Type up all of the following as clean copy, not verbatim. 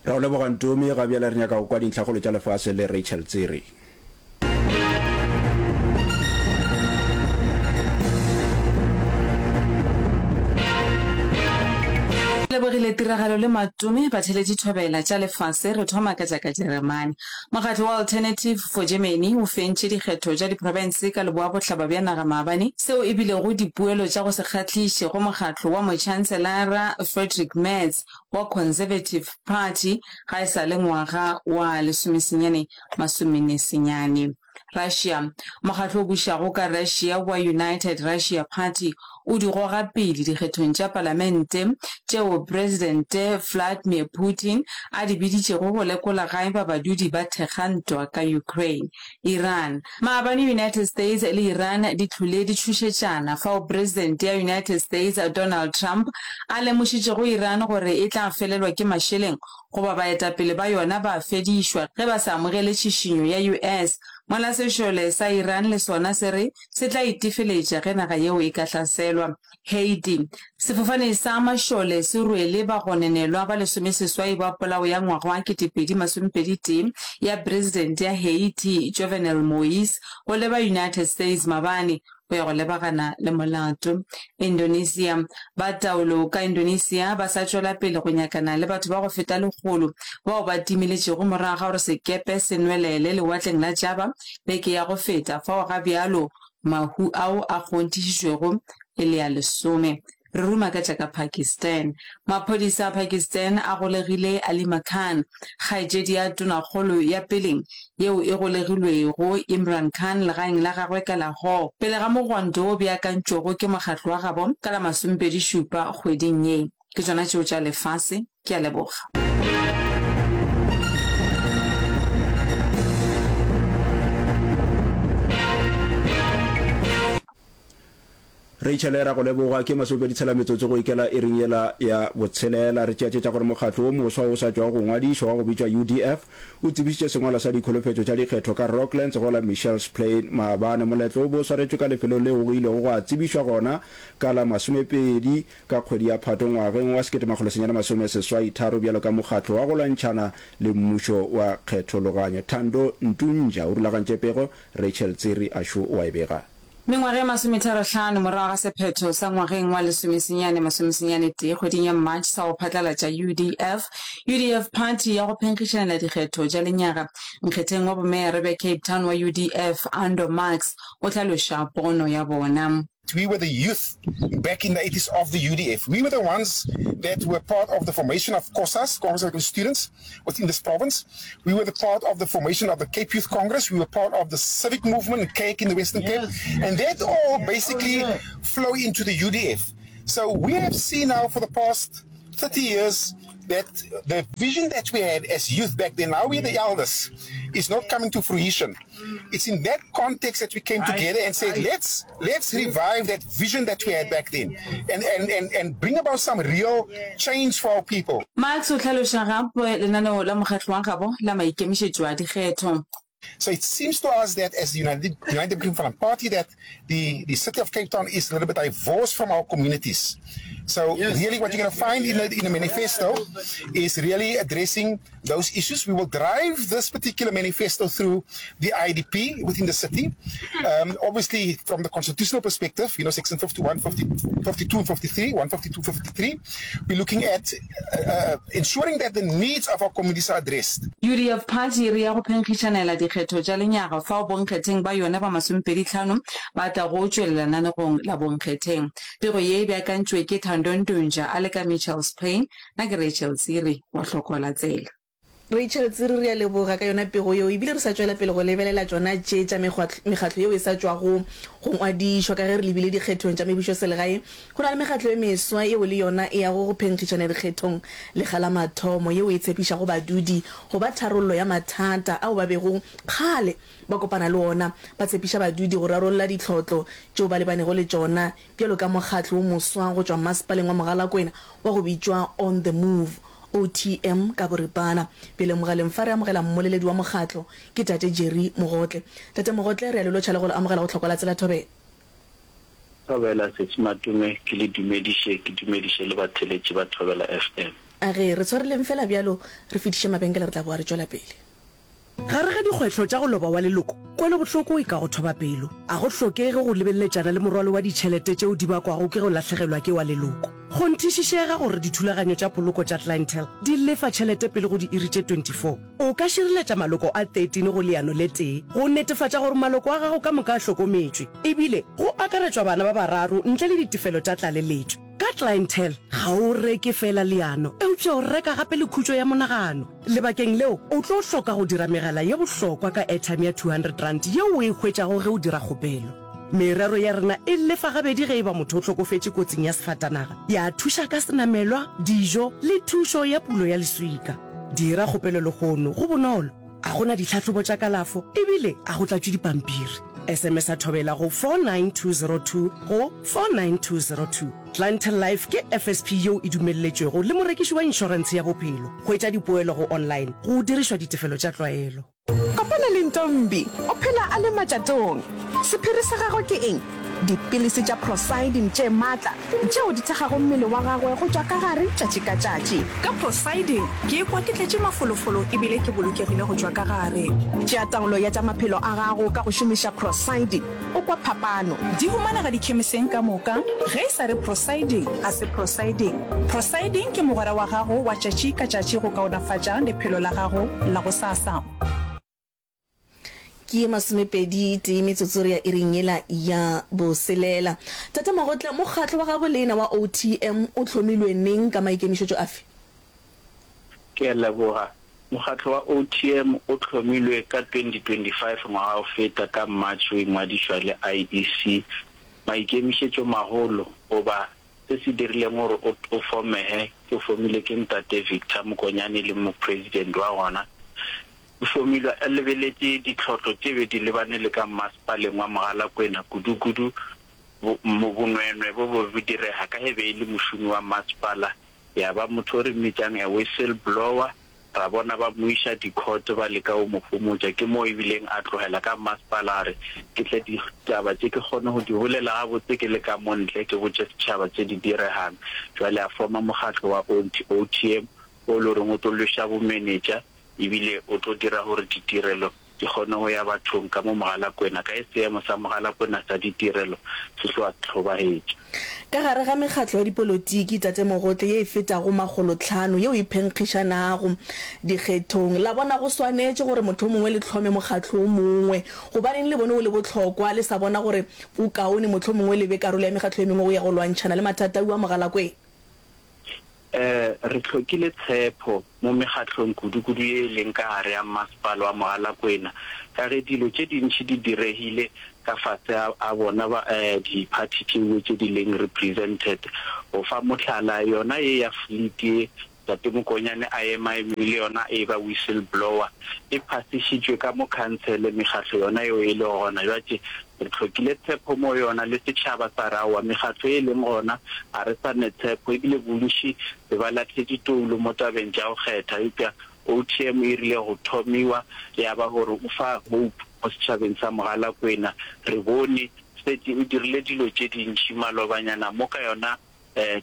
Ra go leboga Ntumi, ga bjale re nyaka go kwa dintlhakgolo tša lefase le Rachel Tsiri. Lebogile tiragalo le Matome batheletši thobela tša lefase re thoma ka tša ka Jeremane. Mokgatlo wa Alternative for Germany o fentše dikgetho tša diprofense ka leboa-bohlaba bja naga maabane, seo e bilego dipuelo tša go se kgahliše go mokgatlo wa Motšhanselara Friedrich Merz wa Conservative Party ga e sa le ngwaga wa lesomesenyane masomenesenyane. Russia, Mokgatlo o bušago ka Russia wa United Russia Party o di goga pele dikgethong tša palamente tšeo Presidente Vladimir Putin a di biditšego go lekola ga eba badudi ba thekga ntwa ka Ukraine. Iran, Maabane United States le Iran di hlole di tšhošetšana fao Presidente ya United States Donald Trump a lemošitšego Iran gore e tla felelwa ke mašeleng goba baetapele ba yona ba fedišwa ge ba sa amogele tšhišinyo ya US, mola sešole sa Iran le sona se re se tla itefeletša ge naga yeo e ka hlaselwa. Haiti, Sefofane sa mašole se rwele bagononelwa ba lesomeseswai ba polao ya ngwaga wa 2021 ya Presidente ya Haiti Jovenel Moise go leba United States mabane go ya go lebagana le molato. Indonesia, Ba taolo ka Indonesia ba sa tšwela pele go nyakana le batho ba go feta lekgolo bao ba timeletšego morago ga gore sekepe se nwelele lewatleng la Java beke ya go feta, fao ga bjalo mahu ao a kgonthišitšwego e le a lesome. Re ruma ka tša ka Pakistan. Maphodisa a Pakistan a golegile Alima Khan, kgaetšedi ya tonakgolo ya peleng yeo e golegilwego Imran Khan legaeng la gagwe ka Lahore pele ga mogwanto wo beakantšwego ke mokgatlo wa gabo ka la masomepedi-šupa kgweding ye. Ke tšona tšeo tša lefase. Ke a leboga. Rachel, Ra go leboga. Ke masomepedi tshela metsotso go ikela iring yela ya botshelela. Re tšeatšetša gore mokgatlo wo moswa wo o sa tšwago go ngwadišwa wa go bitšwa UDF o tsebišitše sengwalwa sa dikholofetšo tša dikgetho ka Rocklands go la Mitchells Plain maabane. Moletlo o be o swaretšwe ka lefelong leo go ilego gwa tsebišwa gona ka la masomepedi ka kgwedi ya Phato ngwageng wa 1983 bjalo ka mokgatlo wa go lwantšhana le mmušo wa kgethologanyo. Thando Ntunja o rulagantše pego, Rachel Tsiri Ashu o a e bega. Mengwaga e masometharo-hlano morago ga sephetho sa ngwageng wa lesomesenyane masomesenyane-tee kgweding ya March sa go phatlalatša UDF, UDF Party ya go phenkgišanela dikgetho tša lenyaga, nkgetheng wa bomeyara bja Cape Town wa UDF, Ando Marks, o hlaloša pono ya bona. We were the youth back in the eighties of the UDF. We were the ones that were part of the formation of COSAS, Congress of African Students, within this province. We were the part of the formation of the Cape Youth Congress. We were part of the civic movement, CAKE, in the Western Cape. And that all basically flow into the UDF. So we have seen now for the past 30 years that the vision that we had as youth back then, now we're the elders, is not coming to fruition. It's in that context that we came together and said, let's, let's revive that vision that we had back then and, and, and, and bring about some real change for our people. Marx o hlaloša gape lenaneo la mokgatlo wa gabo la maikemišetšo a dikgetho. So it seems to us that as the United, United Democratic Front Party that the, the city of Cape Town is a little bit divorced from our communities. So yes, really what you're going to find in the, in the manifesto is really addressing those issues. We will drive this particular manifesto through the IDP within the city. Um, obviously, from the constitutional perspective, you know, section 51, 50, 52 and 53, 152, 53, we're looking at uh, uh, ensuring that the needs of our communities are addressed. UDF Party e re ya go phenkgišanela dikgetho tša lenyaga fao bonkgetheng ba yona ba masomepedihlano ba tlago tšwelela lenanegong la bonkgetheng. Pego ye e beakantšwe ke Thando Ntunja a le ka Mitchells Plain. Nna ke Rachel Tsiri wa Hloko la Tsela. Rachel Tsiri, Re a leboga ka yona pego yeo, ebile re sa tšwela pele go lebelela tšona tše tša mekgatlo yeo e sa tšwago go ngwadišwa. Ka ge re lebile dikgethong tša mebušoselegae, go na le mekgatlo e meswa yeo le yona e yago go phenkgišana dikgethong lekga la mathomo, yeo e tshepišago badudi go ba tharollo ya mathata ao ba bego kgale ba kopana le ona. Ba tshepiša badudi go rarolla ditlhotlo tšeo ba lebanego le tšona bjalo ka mokgatlo wo moswa go tšwa Masepaleng wa Mogalakwena wa go bitšwa On The Move, OTM, ka boripana. Bjale mogaleng fa re amogela mmoleledi wa mokgatlo, ke Tate Jerry Mogotle. Tate Mogotle, re a le lotšha le go le amogela go Tlhokwa la Tsela Thobela. Thobela, Sesi Matume, ke le dumediše, ke dumediše le batheeletši ba Thobela FM. A ge re tshwareleng fela bjalo, re fetiše mabenkele re tla boa re tšwela pele. Gare ga dikgwetlho tša go loba wa leloko, kwelobohloko e ka go thoba pelo. A go hlokege go lebeleletšana le morwalo wa ditšhelete tšeo di bakwago ke go lahlegelwa ke wa leloko. Kgonthišišega gore dithulaganyo tša poloko tša Clientele di lefa tšhelete pele go diiri tše 24. O ka šireletša maloko a 13 go leano le tee go netefatša gore maloko a gago ka moka a hlokometšwe, ebile go akaretšwa bana ba bararo ntle le ditefelo tša tlaleletšo. Ka Clientele, ga o reke feela leano, eupša o reka gape le khutšo ya monagano. Lebakeng leo, o tlo hloka go dira megala ye bohlokwa ka airtime ya R200 yeo o e hwetšago ge o dira kgopelo. Merero ya rena e lefa gabedi ge e ba motho o hlokofetše kotsing ya sefatanaga, ya thuša ka senamelwa, dijo le thušo ya pulo ya leswika. Dira kgopelo lehono, go bonolo, ga go na ditlhahlobo tša kalafo e bile ga go tlatšwe dipampiri. SMS-a Thobela go 49202 go 49202. Clientele Life ke FSP yeo e dumelletšwego le morekiši wa inšorentshe ya bophelo. Hwetša dipoelo go online go dirišwa ditefelo tša tlwaelo. Kopana le Ntombi, o phela a le matšatong. Sephiri sa gagwe ke eng? Dipilisi tša Procyldin tše matla tšeo di thekgago mmele wa gagwe go tšwa ka gare tšatši ka tšatši. Ka Procyldin, ke ikwa ke tletše mafolofolo e bile ke bolokegile go tšwa ka gare. Tšea taolo ya tša maphelo a gago ka go šomiša Procyldin. O kwa phapano. Di humanega dikhemiseng ka moka. Ge e sa re Procyldin, ga se Procyldin. Procyldin ke mogwera wa gago wa tšatši ka tšatši go kaonafatša lephelo la gago la gosasa. Ke ye masomepedi tee metsotso re ya iring yela ya boselela. Tate Magotla, mokgatlo wa gabo lena wa OTM o hlomilwe neng ka maikemišetšo afe? Ke a leboga. Mokgatlo wa OTM o hlomilwe ka 2025 ngwaga o feta ka March o ingwadišwa le IEC. Maikemišetšo magolo goba se se dirileng gore o o fomehe ke o fomilwe ke ntate Victor Mokonyane e leng mopresident wa gona. O fomilwe a lebeletše ditlhotlo tše be di lebane le ka mmasepaleng wa Mogalakwena kudukudu bo bonweenwee bo be bo direga ka ge be e le mošomi wa mmasepala Ya ba motho o re mmitšang a whistle blower, ra bona ba mo iša di-court ba leka go mo homotša. Ke moo ebileng a tlogela ka mmasepala a re, Ke tle ditaba tše ke kgone go di bolela gabotse ke le ka mo ntle, ke botše setšhaba tše di diregang. Bjale a forma mokgatlo wa OTM o le goreng o tlo lweša bomenetša ebile o tlo dira gore ditirelo di kgone go ya bathong ka mo Mogalakwena, ka ge seemo sa Mogalakwena sa ditirelo se tloga se hlobahetše. Ka gare ga mekgatlo ya dipolotiki, Tate Mogotle, ye e fetago makgolotlhano yeo e phenkgišanago dikgethong, la bona go swanetše gore mohlomongwe le hlome mokgatlo o mongwe. Gobaneng le bone o le bohlokwa, le sa bona gore o kaone mohlomongwe le be karolo ya mekgatlo e mengwe go ya go lwantšhana le mathata a Mogalakwena? Re hlokile tshepo mo mekgahlong kudu-kudu ye e leng ka gare ya Mmasepala wa Mogalakwena ka ge dilo tše dintši di diregile ka fase ga bona ba diphathi tšeue tše di leng represented. Go fa mohlala, yona ye ya fleet ye Tate Mokonyane a emaeme le yona e ba whistle blower e phasišitšwe ka mo khansele mekgahlo yona yeo e lego gona bjatše Re hlokile tshepo mo yona le setšhaba sa re aowa mekgatlo ye e leng gona ga re sa ne tshepo ebile bontši be ba lahletše toulo mo tabeng tša go kgetha eupša OTM e rile go thomiwa ya ba gore o fa hope mo setšhabeng sa Mogalakwena re bone setše o dirile dilo tše dintši malobanyana mo ka yona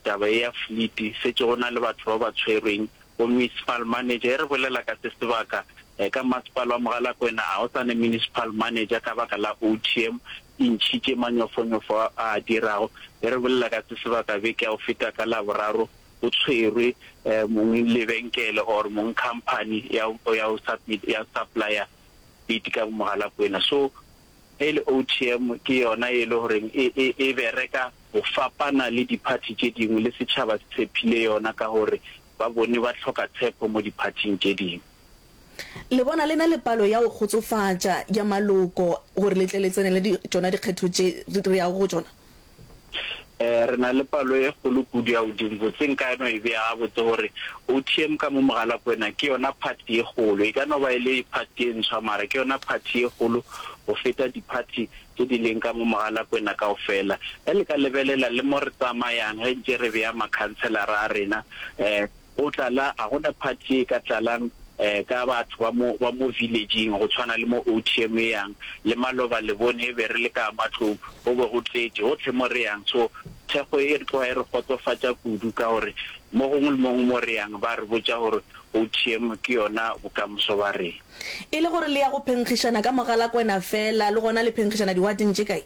Taba ye ya fleet, šetše go na le batho ba ba tshwerweng. Bo municipal manager, ge re bolela ka se sebaka, ka masepala wa Mogalakwena ga go sa ne municipal manager ka baka la OTM e ntšhitše manyofonyofo a a dirago. Ge re bolela ka se sebaka beke ya go feta ka Laboraro go tshwerwe mong lebenkele or mong company ya ya go ya supplier fleet ka Mogalakwena. So Ge e le OTM ke yona e le goreng e, e, e bereka go fapana le diphathi tše dingwe le setšhaba se tshephile yona ka gore ba bone ba hloka tshepo mo diphathing tše dingwe. Le bona le na le palo ya go kgotsofatša ya maloko gore le tle le tsenele di, tšona dikgetho tše re yago go tšona? Re na le palo e kgolo kudu ya godimo. Botse nka no e bea gabotse gore OTM ka mo Mogalakwena ke yona party ye kgolo. E ka no ba e le party e ntshwa mara ke yona party ye kgolo go feta di-party tše di leng ka mo Mogalakwena kaofela. Ge le ka lebelela le mo re tsamayang ge ntše re bea makhanselara a rena, Go tlala, ga go na party ye e ka tlalang ka batho ba mo, ba mo village-ing go tshwana le mo OTM e yang. Le maloba le bone e be re le ka matlong, go be go tletše, gohle mo re yang. So, Thekgo e re tloga e re kgotsofatša kudu ka gore mo gongwe le mo gongwe mo re yang ba re botša gore OTM ke yona bokamoso ba rena. E le gore le ya go phenkgišana ka Mogalakwena feela, le gona le phenkgišana diwateng tše kae?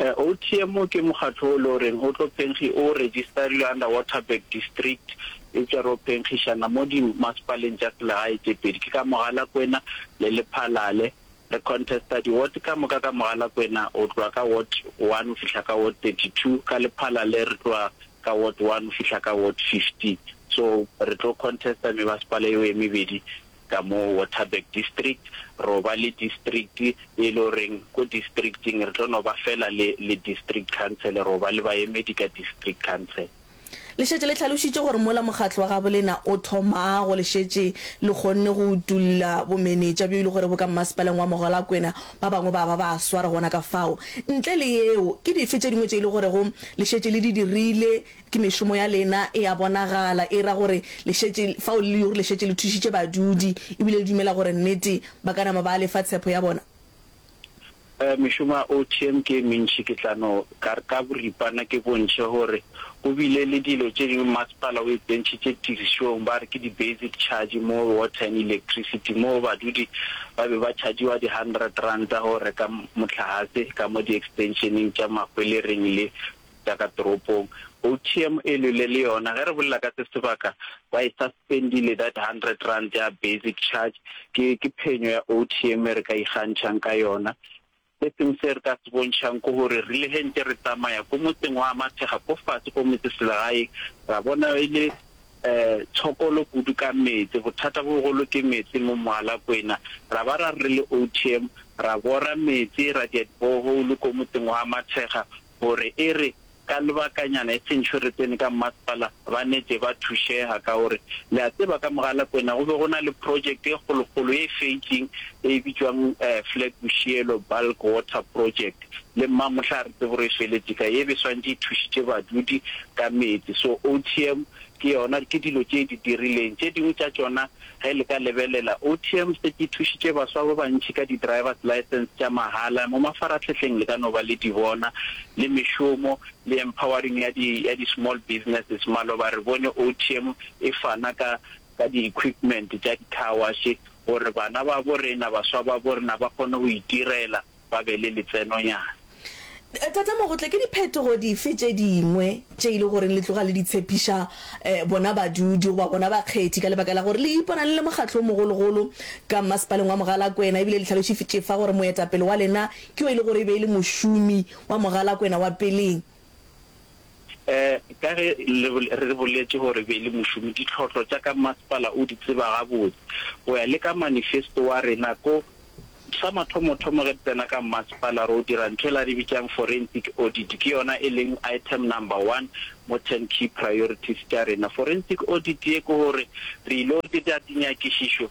OTM ke mokgatlo o le goreng o tlo phenkgi, o registerilwe under Waterberg District, eupša re o phenkgišana mo dimasepaleng tša selegae tše pedi, ke ka Mogalakwena le Lephalale. Re contesta di-ward ka moka ka Mogalakwena go tloga ka ward one go fihla ka ward 32, ka Lephalale re tloga ka ward one go fihla ka ward 15. So re tlo contesta mebasepala eo e mebedi ka mo Waterberg District. Ro ba le district e le goreng ko districting re tlo no ba fela le le district council, ro ba le baemedi ka district council. Le šetše le hlalošitše gore mola mokgatlo wa gabolena o thomago le šetše le kgonne go utolla bomenetša bjo e le gore bo ka mmasepaleng wa Mogalakwena, ba bangwe ba ba ba swara gona ka fao. Ntle le yeo, ke dife tše dingwe tše e le gorego le šetše le di dirile? Ke mešomo ya lena e a bonagala, e ra gore le šetše fao le le šetše le thušitše badudi ebile le dumela gore nnete ba ka nama ba lefa tshepo ya bona. Mešomo ya OTM ke e mentši, ke tla no ka re ka boripana ke bontšhe gore go bile le dilo tše dingwe masepala o e tsentšhitše tirišong ba re ke di-basic charge mo water and electricity moo badudi ba be ba chargiwa di-hundred ranta go reka mohlagase ka mo di-extensioneng tša Mahwelereng le tša ka toropong. OTM e lwele le yona, ge re bolela ka se sebaka, ba e suspendile that R100 ya basic charge. Ke, ke phenyo ya OTM e re ka ikgantšhang ka yona. Se sengwe se re ka se bontšhang ke gore re ile ge ntše re tsamaya ko motseng wa Mathega ko fase ko metseselegaeng, ra bona e le um tshokolo kudu ka meetse. Bothata bo bogolo ke meetse mo Mogalakwena. Ra ba ra re re le OTM ra bora meetse, ra dia di-borehole ko motseng wa Mathega gore e re ka lebakanyana e seng tšho re tsene ka mmasepala ba nete ba thušega ka gore le a tseba ka Mogalakwena go be go na le project e kgolokgolo ye e feitšeng e bitšwang Flag Boshielo Bulk Water Project le mmamohla ga re tsebe gore e feletše kae e be swantše e thušitše badudi ka meetse so OTM ke yona ke dilo tše e di dirileng tše dingwe tša tšona Ge le ka lebelela, OTM šetše e thušitše baswa ba bantši ka di-driver's licence tša mahala mo mafaratlhahleng le ka no ba le di bona, le mešomo, le empowering ya di, ya di-small businesses. Maloba re bone OTM e fana ka, ka di-equipment tša di-car wash gore bana babo rena, baswa babo rena ba kgone go itirela. ba be le letsenonyana. Tata Mogotle, ke diphetogo dife tše dingwe tše e le goreng le tloga le di tshepiša bona badudi goba bona bakgethi ka lebaka la gore le ipona le le mokgatlo o mogologolo ka mmasepaleng wa Mogalakwena ebile le hlalošitše fa gore moetapele wa lena ke yo e le gore e be e le mošomi wa Mogalakwena wa peleng? Ka ge re boletše gore e be e le mošomi, ditlhohlo tša ka mmasepala o di tseba gabotse. Go ya le ka manifesto wa rena ko Sa mathomothomo ge re tsena ka mmasepala ro dira ntho ela re bitšang forensic audit, ke yona e leng item number one mo ten key priorities tša rena. Forensic audit ye ke gore re ilo dira dinyakišišo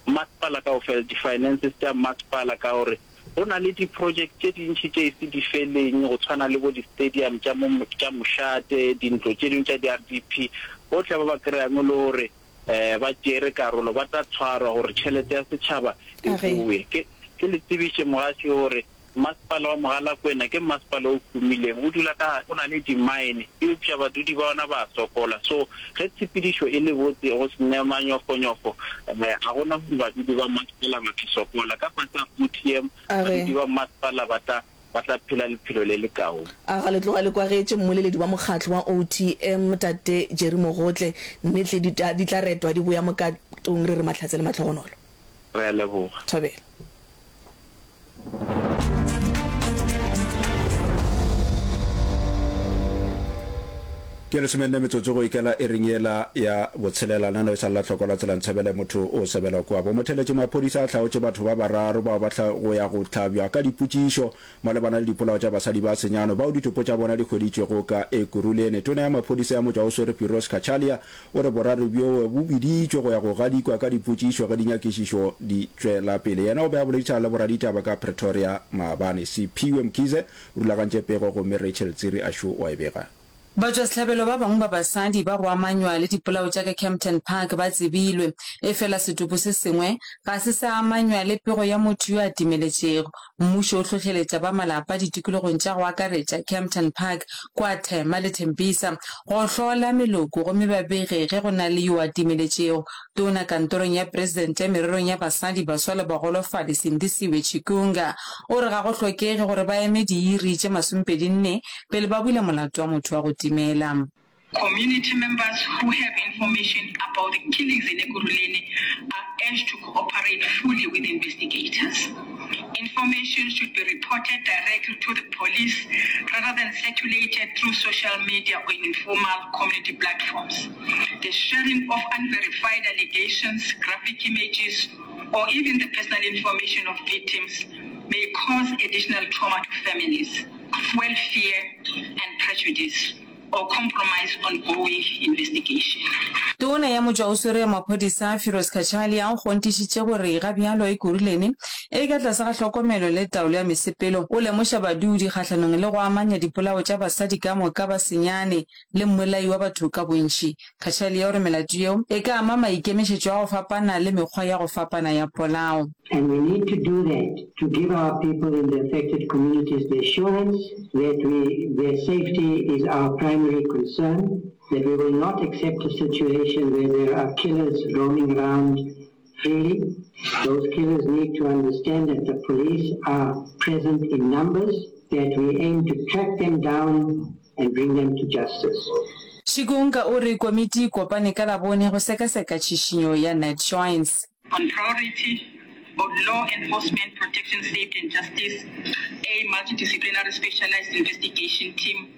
mmasepala kaofela, di-finances tša mmasepala ka gore go na le di-project tše dintši tše ise di feleng go tshwana le bo di-stadium tša mo tša mošate, dintlo tše dingwe tša di-R_D_P, bohle ba ba kry-ang e le gore Ba tšeere karolo, ba tla tshwarwa gore tšhelete ya setšhaba e bowe. Ke, ke le tsebiše mogaši gore mmasepala wa Mogalakwena ke mmasepala o humileng, o dula ka, o na le dimaene, eupša badudi ba ona ba a sokola. So, ge tshepedišo e le botse, go se ne manyofonyofo, ga go na gore badudi ba mmasepala ba tla sokola. Ka fase ga OTM, badudi ba mmasepala ba tla ba tla phela lephelo le lekaone. A ga le tloga le kwagetše mmoleledi wa mokgatlo wa OTM, Tate Jerry Mogotle, Nnete di ta di tla retwa di boya mokatong re re mahlatse le mahlogonolo. Re a leboga. Thobela. Ke lesomenne metsotso go ikela iring yela ya botshelela. Nano e sa lla hloko la tsela Ntshebele motho o sebelwa kua. Bomotheletši maphodisa a hlaotše batho ba bararo bao ba hla go ya go hlabja ka dipotšišo malebana le dipolao tša basadi ba senyano bao ditopo tša bona di hweditšwego ka Ekurhuleni. Tona ya maphodisa ya motšwaoswere Firoz Cachalia o re boraro bjoo bo biditšwe go ya go gadikwa ka dipotšišo ge dinyakišišo di tšwela pele. Yena o be a boledišana le boraditaba ka Pretoria maabane. Siphiwe Mkhize o rulagantše pego gomme Rachel Tsiri Ashu o a e bega. Batšwasehlabelo ba bangwe ba basadi ba go amanywa le dipolao tša ka Kempton Park ba tsebilwe, efela setopo se sengwe ga se sa amanywa le pego ya motho yo a timeletšego. Mmušo o hlohleletša ba malapa ditikologong tša go akaretša Kempton Park kua Thema le Tembisa go hlola meloko gomme ba bege ge go na le yo a timeletšego. Tona kantorong ya Presidente mererong ya Basadi, Baswa le Bagolofadi Sindisiwe Chikunga o re ga go hlokege gore ba eme diiri tše masomepedinne pele ba bula molato wa motho wa go timela. Community members who have information about the killings in Ekurhuleni are urged to cooperate fully with investigators. Information should be reported directly to the police rather than circulated through social media or informal community platforms. The sharing of unverified allegations, graphic images, or even the personal information of victims may cause additional trauma to families, fuel fear and prejudice, or compromise ongoing investigation. Tona ya Motšwaoswere ya Maphodisa, Firoz Cachalia, o kgonthišitše gore ga bjalo Ekurhuleni e ka tlase ga hlokomelo le taolo ya mesepelo. O lemoša badudi kgahlanong le go amanya dipolao tša basadi ka moka ba senyane le mmolai wa batho ka bontši. Cachalia o re melato yeo e ka ama maikemišetšo a go fapana le mekgwa ya go fapana ya polao. And we need to do that to give our people in the affected communities the assurance that we, their safety is our primary concern, that we will not accept a situation where there are killers roaming around freely. Those killers need to understand that the police are present in numbers, that we aim to track them down and bring them to justice. Shikunga o re komiti e kopane ka Labone go sekaseka tšhišinyo ya NatJoints. On priority of law enforcement, protection, safety and justice, a multidisciplinary specialised investigation team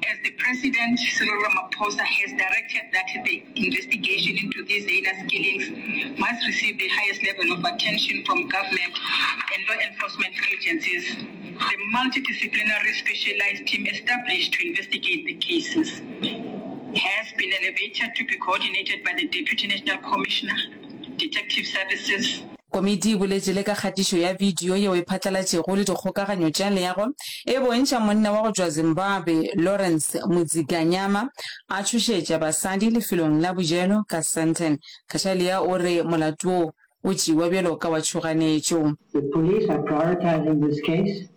as the President Cyril Ramaphosa has directed that the investigation into these heinous killings must receive the highest level of attention from government and law enforcement agencies. The multidisciplinary specialized team established to investigate the cases has been elevated to be coordinated by the Deputy National Commissioner, Detective Services. Komiti e boletše le ka kgatišo ya bidio yeo e phatlalatšego le dikgokaganyo tša leago e bontšha monna wa go tšwa Zimbabwe Lawrence Mudzikanyama a tšhošetša basadi lefelong la bojelo ka Sandton. Cachalia o re molato wo o tšewa bjalo ka wa tšhoganetšo. The police are prioritising this case,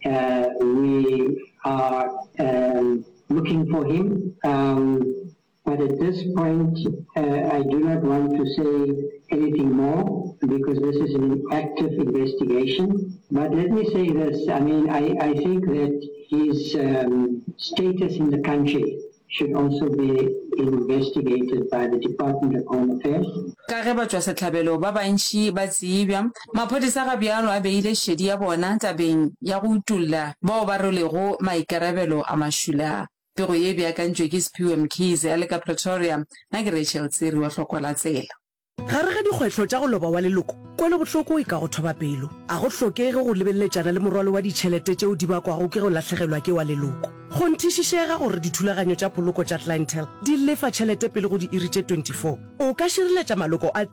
we are looking for him but at this point I do not want to say anything more because this is an active investigation. But let me say this, I mean I, I think that his status in the country should also be investigated by the Department of Home Affairs. Ka ge batšwasehlabelo ba bantši ba tsebja, maphodisa ga bjalo a beile šedi ya bona tabeng ya go utolla bao ba rwelego maikarabelo a mašula. Pego ye e beakantšwe ke Sphiwe Mkhize a le ka Pretoria. Nna ke Rachel Tsiri wa Hlokwa la Tsela. Gare ga dikgwetlho tša go loba wa leloko, kwelobohloko e ka go thoba pelo. A go hlokege go lebeleletšana le morwalo wa ditšhelete tšeo di bakwago ke go lahlegelwa ke wa leloko. Kgonthišišega gore dithulaganyo tša poloko tša Clientele di lefa tšhelete pele go diiri tše 24. O ka šireletša maloko a 30.